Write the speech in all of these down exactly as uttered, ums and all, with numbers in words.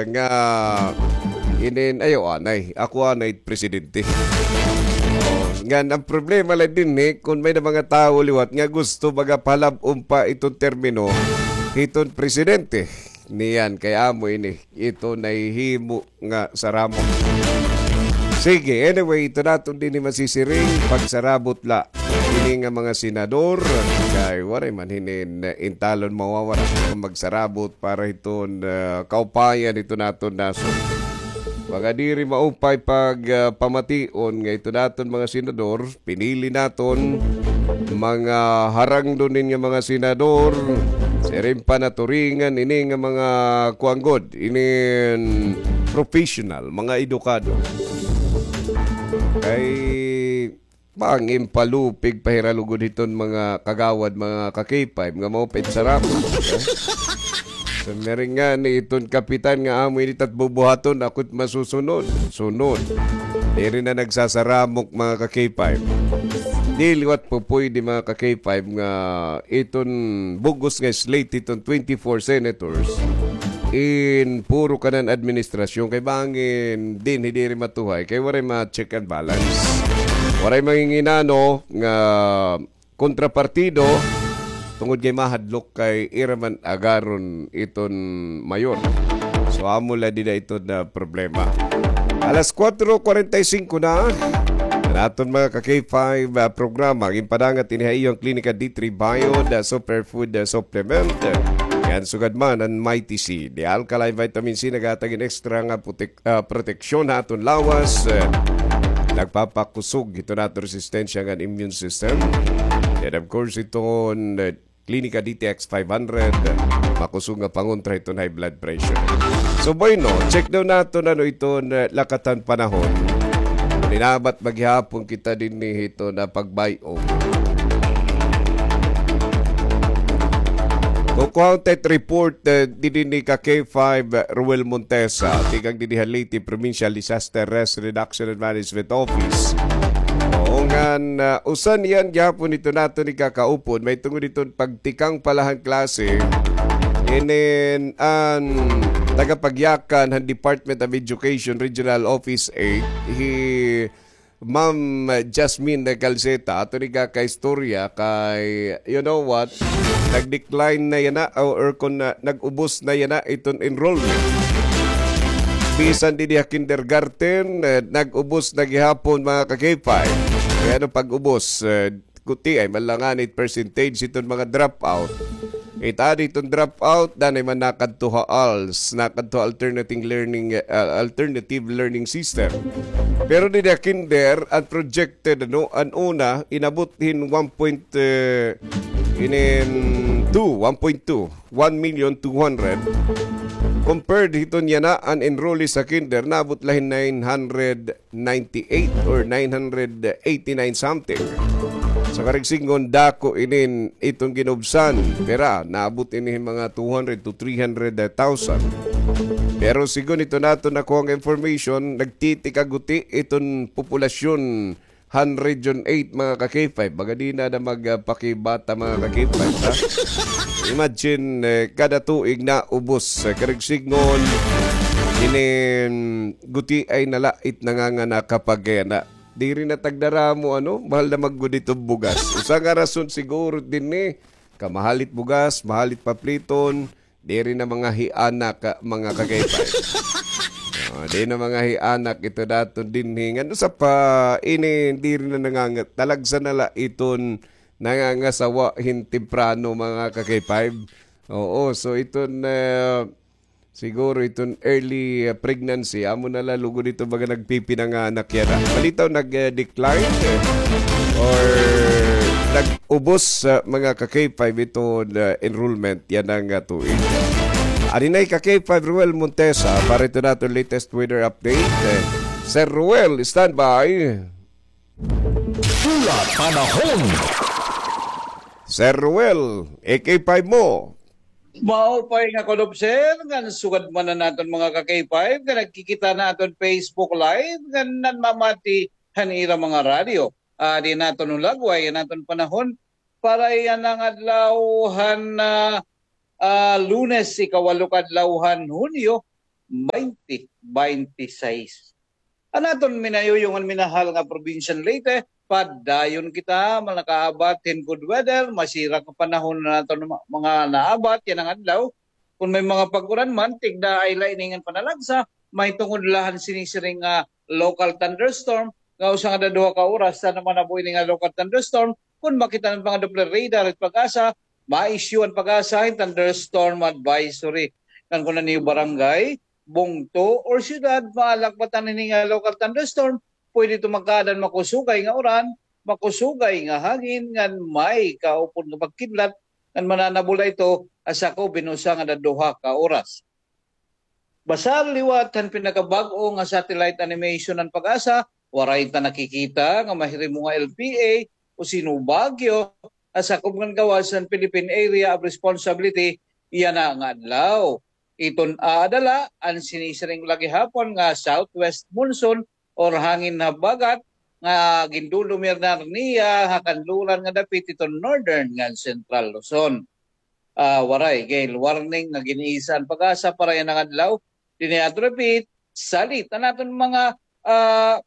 nga inin, ayaw anay. Ako anay presidente. Oh, ngan ang problema la dinhi, kun may-ada mga tawo liwat nga gusto magapalab-on pa iton termino hiton presidente. Niyan, kay amo ini, ito nahihimo nga saramok. Sige, anyway, ito naton dinhi masisiring, pagsarabot la ini nga mga senador, kay waray man hinin, eh, intalon mawawara kon magsarabot para hiton, ah, kaupayan hito naton nasod. Mga diri maupay pag, ah, pamation nga ito naton mga senador, pinili naton, mga harangdon ini nga mga senador, siring pa naturingan ini nga mga kuan gud, inin professional, mga edukado. Kay bangin palupig pa hira lugod hiton mga kagawad, mga ka-K five, nga maupay sarap. Sa meringan ni iton kapitan nga amo ini tat bubuhaton, ako it masusunod. Sunod. Diri na nagsasaramok, mga ka-K five. Di liwat po pwede, mga ka-K five, nga iton bug-os nga slate iton twenty-four senators in puro kanan administrasyon kay bangin dinhi diri matuhay kay waray ma-check and balance. Waray manginginano nga kontrapartido, tungod kay mahadlok kay ira man agaron iton mayor. So, amo la dida iton, ah, problema. Alas kuwatro kuwarenta y singko na. An aton mga ka-K five, ah, programa, ginpadangat ini ha iyo an Klinika D three Bio, the superfood, ah, supplement. Ngan sugad man an Mighty C, the alkaline vitamin C, naghatag hin extra nga putik- ah, proteksyon ha aton lawas, eh, nagpapakusog hiton aton resistensya ngan immune system. And of course, iton, eh, Klinika D T X five hundred, eh, makusog nga pangontra hiton high blood pressure. So, bueno, check daw naton ano iton, eh, lakatan panahon. Ninabat maghihapon kita dinhi hiton pagbay-ong. Kukuha ta it report, eh, didi ni ka K five, eh, Ruel Montesa, tikang didi ha Leyte Provincial Disaster Risk Reduction and Management Office. Oo, ngan, ah, usa niyan gihapon ito naton ikakaupod, may tungod iton pagtikang pa la han klase, inin an tagapagyakan han Department of Education Regional Office eight, hi Ma'am Jasmine Calceta, aton ikakaistorya kay, you know what, nag-decline na yana, o, or kon, ah, nag-ubos na yana iton enrollment. Bisan didi ha kindergarten, eh, nag-ubos na gihapon, mga ka-K five. Kay ano pag-ubos, eh, gutiay man la ngani it percentage hiton mga dropout. It adi hiton dropout, danay man nakadto ha ALS, nakadto ha alternative learning, ah, alternative learning system. Pero didi ha kinder, an projected, ano, an una, inabot hin one point, eh, inin two, one point two, one million two hundred. Compared hiton yana, an enrollees ha kinder, naabot la hin nine hundred ninety-eight or nine hundred eighty-nine something. Sa karigsingon, dako inin iton ginubsan. Pira, naabot ini mga two hundred to three hundred thousand. Pero sigon ito naton nakuha nga information, nagtitika guti iton populasyon han Region eight, mga ka-K five. Baga di na na magpakibata, mga ka-K five, ha? Imagine, eh, kada tuig naubos, eh, karigsingon, inin gutiay na la it nanganganak ha Cagayan. Diri na tagdaramo, ano, mahal na man gud iton bugas. Usa nga rason siguro dinhi, kay mahal it bugas, mahal it papliton, diri na mga hianak, ah, mga ka-K five. Ah, di na mga hianak ito daton dinhi. Ngan usa pa, ini, diri na nangangat-, talagsa na la iton nangangasawa hin temprano, mga ka-K five. Oo, so iton, ah, siguro iton early, ah, pregnancy, amo na la lugod ito baga nagpipinanganak yana. Balitaw nag-decline, eh, or nag-ubos, ah, mga ka-K five iton, ah, enrollment yana nga tuig. Adi na hi ka-K five Ruel Montesa para ito naton latest weather update. Eh, Sir Ruel, standby. Pula Panahon. Sir Ruel, A K five mo. Maupay nga kulob, sir, ngan sugad man an aton mga ka-K five nga nagkikita han aton Facebook Live ngan nanmamati han ira mga radyo. Adi an aton hulagway, an aton panahon para yana nga adlaw han, ah, ah, Lunes, ikawalo ka adlaw han Hunyo, twenty twenty-six. An aton minayuyong an minahal nga probinsya han Leyte, padayon kita, mga nakaabat hin good weather, masira nga panahon an aton ma-, mga naabat yana nga adlaw. Kon may mga pag-uran man, tigda ay la ini ngan panalagsa, mahitungod la han sinisiring nga local thunderstorm, nga usa nga duha ka oras, sa naman na po ini nga local thunderstorm, kon makita han mga Doppler radar it PAGASA, ma-issue an PAGASA hin thunderstorm advisory. Ngan kon an iyo barangay, bungto, or syudad, maalakbatan hini nga local thunderstorm, pwede ito magkaadan makusugay nga uran, makusugay nga hangin, ngan may kaupod nga pagkidlat, ngan mananabo la ito ha sakob hin usa nga duha ka oras. Basar liwat han pinakabag-o nga satellite animation han PAGASA, waray ta nakikita nga mahirimo nga L P A o sino bagyo ha sakob ngan gawas han Philippine Area of Responsibility yana nga adlaw. Iton aada la an sinisiring la gihapon nga southwest monsoon or hangin habagat nga gindudumirnar niya ha kanluran nga dapit hiton Northern ngan Central Luzon. Ah, waray gale warning nga gin-isa an PAGASA para yana nga adlaw. Dinhi aton repeat, salit an aton mga, ah,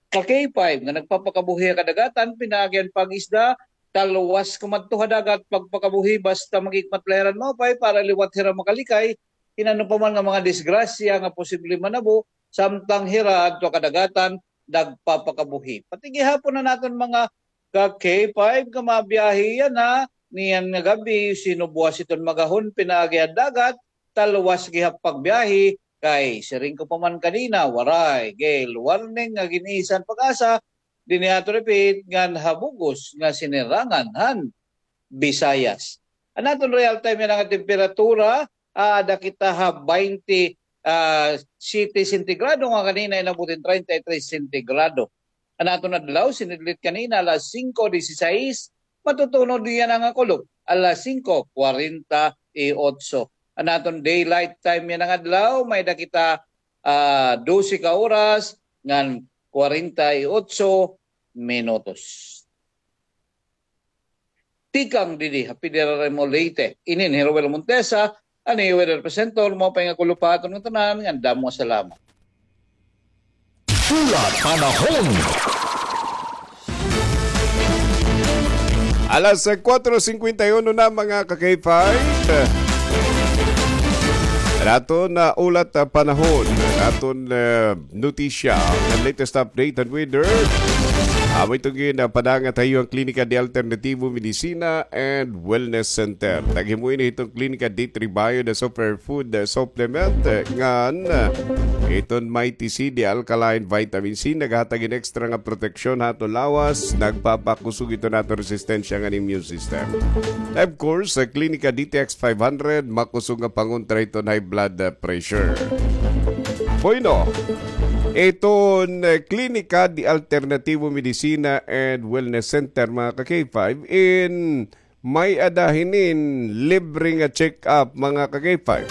ka K five nga nagpapakabuhi ha kadagatan, pinaagi an pag-isda, talwas kumadto ha dagat, pagpakabuhi basta maghikmat la hira hin maupay para liwat hira makalikay hin ano pa man nga mga disgrasya nga posible manabo samtang hira adto ha kadagatan nagpapakabuhi. Pati gihapon an aton mga ka K five nga mabiyahe yana, niyan nga gab-i, sino buwas iton magahon pinaagi ha dagat, talwas gihap pagbiyahe, kay siring ko pa man kanina, waray gale warning nga gin-isa han PAGASA, dinhi aton repeat, ngan ha bug-os nga sinirangan han Visayas. An aton real time yana nga temperatura, aada kita ha baynte, ah, siyete sentigrado, nga kanina inabot hin treinta y tres sentigrado. An aton adlaw, sinidlit kanina alas singko disisais, matutunod yana nga kulop alas singko kwarenta y otso. An aton daylight time yana nga adlaw, may-ada kita, ah, dose ka oras ngan kwarenta y otso minutos. Tikang didi ha Federal Remo Leyte. Inin hi Roel Montesa, an iyo weather presenter, maupay nga kulop ha aton ngatanan, ngan damo nga salamat. Ulat panahon. Alas, eh, kuwatro singkwenta y uno na, mga ka-K five. An aton, ah, ulat, ah, panahon. An aton, eh, notisya, an latest update han weather. Amo iton gin, ah, padangat ha iyo han Klinika de Alternativo Medicina and Wellness Center. Naghimo ini hiton Klinika D three Bio, the superfood, ah, supplement, ah, ngan, ah, iton Mighty C, the alkaline vitamin C, naghatag hin extra nga proteksyon ha aton lawas, nagpapakusog iton aton resistensya ngan immune system. Of course, sa Klinika D T X five hundred, makusog nga pangontra hiton high blood, ah, pressure. Bueno, iton, eh, Klinika de Alternativo Medicina and Wellness Center, mga ka-K five, in may-ada hinin libre nga check-up, mga ka-K five.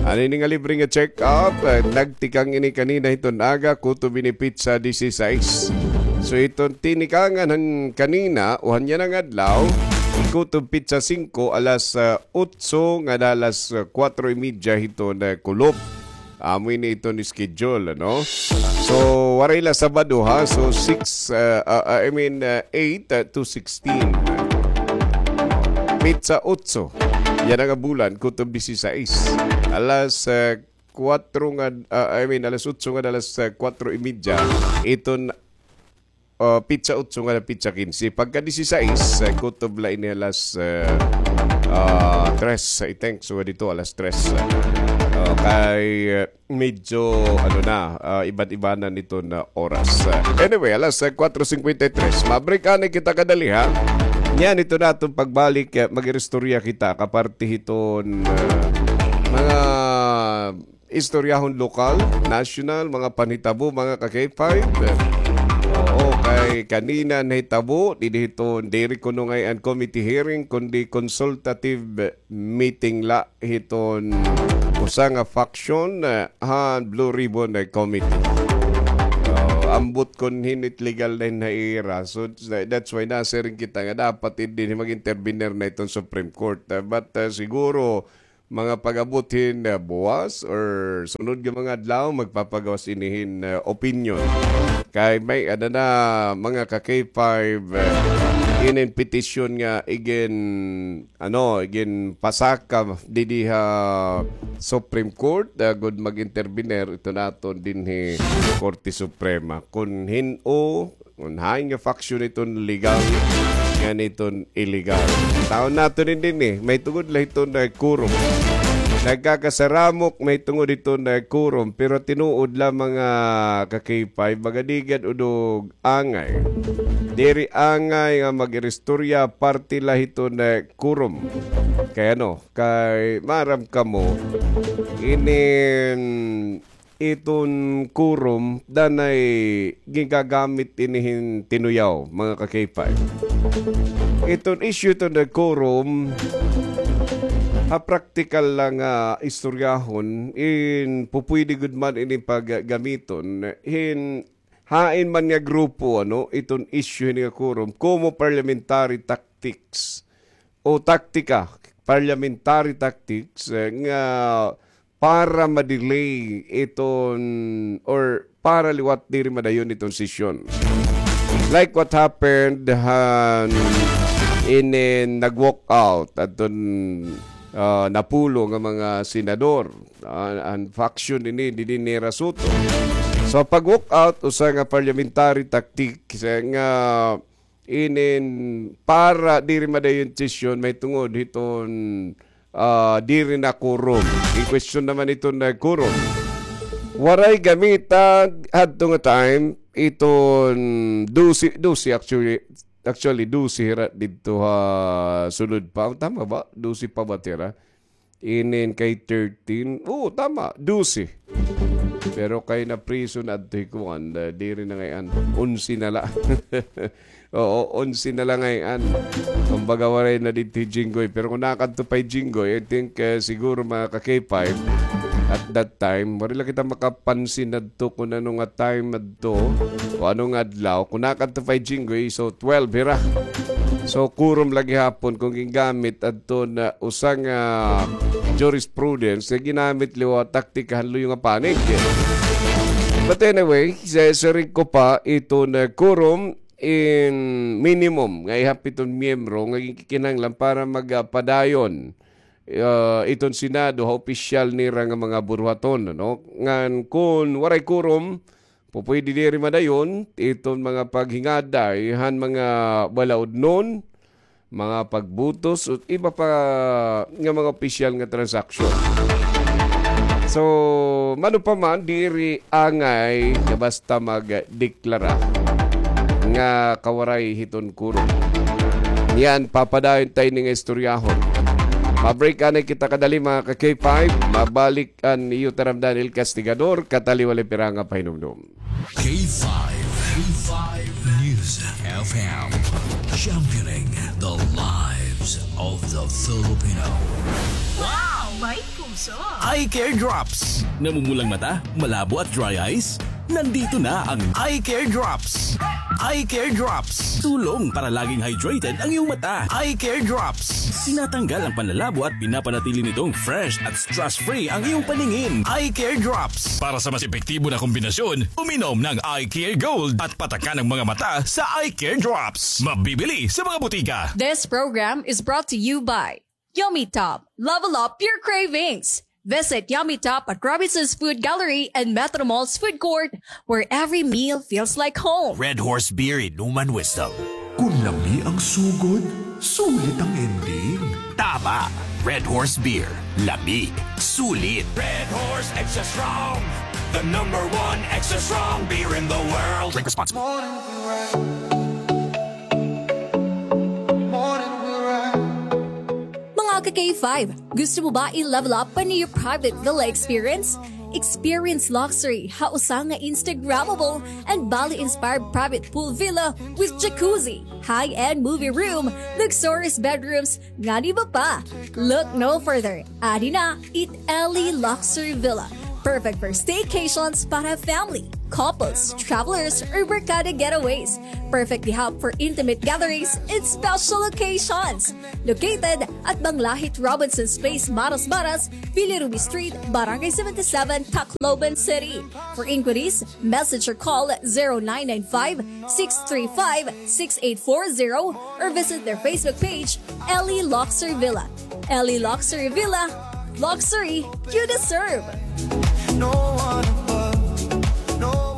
Ano ini nga libre nga check-up? Eh, nagtikang ini kanina hiton aga, kutob ini petsa disisais. So, iton tinikangan han kanina, o han yana nga adlaw, kutob petsa singko, alas, ah, otso ngada alas, ah, kuwatro y media hiton, ah, kulop. Amo ini iton schedule, ano? So, waray la Sabado, ha? So, six, ah, ah, ah, I mean, ah, eight, ah, to sixteen. Petsa otso. Yana nga bulan, kutob disisais. Alas, ah, kuwatro nga, ah, I mean, alas otso nga, alas, ah, kuwatro y media. Iton ah, petsa otso ngada petsa kinse. Pagka disisais, ah, kutob la ini alas, ah, ah, tres, I think. So, dito alas tres. Ah, kay, ah, medyo, ano na, ah, iban-ibanan iton oras. Ah, anyway, alas, ah, kuwatro singkwenta y tres. Ma-break anay kita kadali, ha? Niyan, iton aton pagbalik, ah, mag-iristorya kita, kaparte hiton, ah, mga istoryahon lokal, national, mga panhitabo, mga ka-K five. Oo, kay kanina nahitabo, didi hiton, diri kuno ngay-an committee hearing, kundi consultative meeting la hiton usa nga faction, eh, han Blue Ribbon, eh, Committee. Oo, ambot kon hin it legal na hin ha ira. So, that's why nasiring kita nga dapat dinhi mag-intervenir na iton Supreme Court. Eh, but, eh, siguro, mga pag-abot hin, ah, buwas or sunod nga mga adlaw, magpapagawas ini hin, ah, opinyon. Kay may-ada na, mga ka-K five, ah, inin petisyon nga igin, ano, igin pasaka didi ha Supreme Court, ah, agod mag-intervener iton aton dinhi Korte Suprema. Kun hin-o, kun hain nga faction iton legal, ngan iton illegal. Taon naton ini dinhi, mahitungod la hiton, ah, quorum. Nagkakasaramok mahitungod hiton, ah, quorum, pero tinuod la, mga ka-K five, baga di gad udog angay. Diri angay nga mag-iristorya parte la hiton, ah, quorum. Kay ano, kay maaram kamo, inin iton quorum, danay gingagamit ini hin tinuyaw, mga ka-K five. Iton issue iton nga quorum, ha praktikal la nga istoryahon, in pupwede gud man ini paggamiton, hin hain man nga grupo, ano, iton issue hini nga quorum, como parliamentary tactics o taktika, parliamentary tactics, eh, nga para ma-delay iton or para liwat diri madayon iton sesyon. Like what happened han inin nag-walk out adton, ah, napulo nga mga senador, ah, an faction ini ni Rhea Soto. So, pag-walk out, usa nga parliamentary tactic, eh, nga inin para diri madayon sesyon mahitungod hiton, ah, diri na quorum. In question naman iton nga quorum. Waray gamita hadto nga time iton dose, dose actually, actually dose hira didto ha sulod pa. Tama ba? Dose pa ba hira? Inin kay thirteen. Oo, tama. Dose. Pero kay na-prison adto hi kuan, ah, diri na ngay-an. Onse na la. Oo, onse na la ngay-an. Kumbaga, waray na didto hi Jinggoy. Pero kun nakadto pa hi Jinggoy, I think, ah, siguro mga ka-K five, at that time, waray la kita makapansin adto kun ano nga time adto, o ano nga adlaw. Kun nakadto pa hi Jinggoy, so twelve hira. So, quorum la gihapon kun gingamit adto na usa nga jurisprudence nga ginamit liwat taktika han luyo nga panig. But anyway, sa, sa siring ko pa, iton quorum in minimum nga ihap iton miyembro nga ginkikinahanglan para magpadayon, ah, iton Senado ha opisyal nira nga mga buruhaton, no? Ngan kun waray quorum, pupwede diri madayon iton mga paghingaday han mga balaudnon, mga pagbutos, ug iba pa nga mga opisyal nga transaksyon. So, mano pa man, diri angay nga basta magdeklara nga kawaray hiton quorum. Niyan, papadayon ta ini nga istoryahon. Ma-break anay kita kadali, mga ka-K five. Mabalik an iyo taramdan, El Castigador, kataliwali pira nga pahinumdom. K five, K five News F M, championing the lives of the Filipino. Wow! May puso! Eye Care Drops. Namumulang mata, malabo at dry eyes? Nandito na ang Eye Care Drops. Eye Care Drops. Tulong para laging hydrated ang iyong mata. Eye Care Drops. Tinatanggal ang panlalabo at pinapanatili nitong fresh at stress-free ang iyong paningin. Eye Care Drops. Para sa mas epektibo na kombinasyon, uminom ng Eye Care Gold at patakan ang mga mata sa Eye Care Drops. Mabibili sa mga butika. This program is brought to you by Yummy Top. Level up your cravings. Visit Yummy Top at Robinson's Food Gallery and Metro Mall's Food Court, where every meal feels like home. Red Horse Beer, inuman wisdom. Kun lami ang sugod, sulit ang ending. Tama. Red Horse Beer. Lami. Sulit. Red Horse Extra Strong. The number one extra strong beer in the world. Drink responsibly. Mga ka-K five, gusto mo ba i-level up pa an iyo private villa experience? Experience luxury ha usa nga Instagrammable and Bali-inspired private pool villa with jacuzzi, high-end movie room, luxurious bedrooms, ngan iba pa. Look no further. Adi na it Ellie Luxury Villa. Perfect for staycations para family, couples, travelers, or barkada getaways. Perfectly hap for intimate gatherings and special occasions. Located at Banglahit Robinson's Place, Maras Maras, Villa Ruby Street, Barangay seventy-seven, Tacloban City. For inquiries, message or call zero nine nine five, six three five, six eight four zero or visit their Facebook page, Ellie Luxury Villa. Ellie Luxury Villa, luxury you deserve.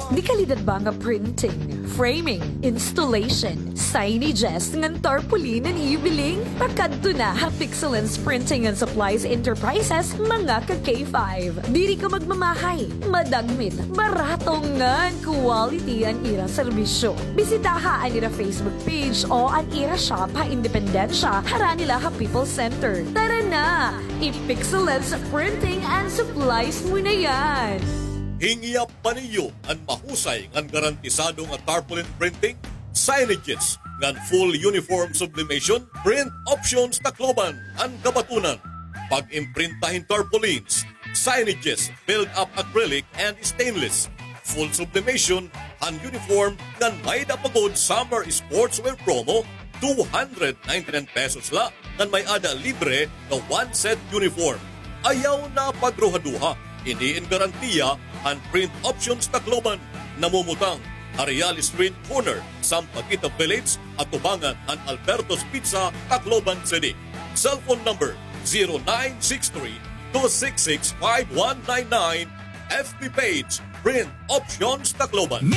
Di kalidad ba nga printing, framing, installation, signages ngan tarpaulin an ibiling? Pakadto na ha Pixelens Printing and Supplies Enterprises, mga ka K five. Diri ka magmamahay, madagmit, barato ngan quality an ira serbisyo. Bisitaha an ira Facebook page o an ira shop ha Independencia, harani la ha People's Center. Tara na! I-Pixelens Printing and Supplies mo na yan! Hingyap pa niyo an mahusay ngan garantisado nga tarpaulin printing, signages, ngan full uniform sublimation, Print Options Tacloban an kabatunan. Pag-imprinta hin tarpaulins, signages, build-up acrylic and stainless, full sublimation han uniform ngan may-ada pa gud summer sportswear promo, two hundred ninety-nine pesos la ngan may-ada libre nga one set uniform. Ayaw na pagruhaduha, ini in garantiya han Print Options Tacloban, namumutang ha Real Street corner, Sampaguita Village, atubangan han Alberto's Pizza, Tacloban City. Cellphone number zero nine six three, two six six, five one nine nine. F B page, Print Options Tacloban.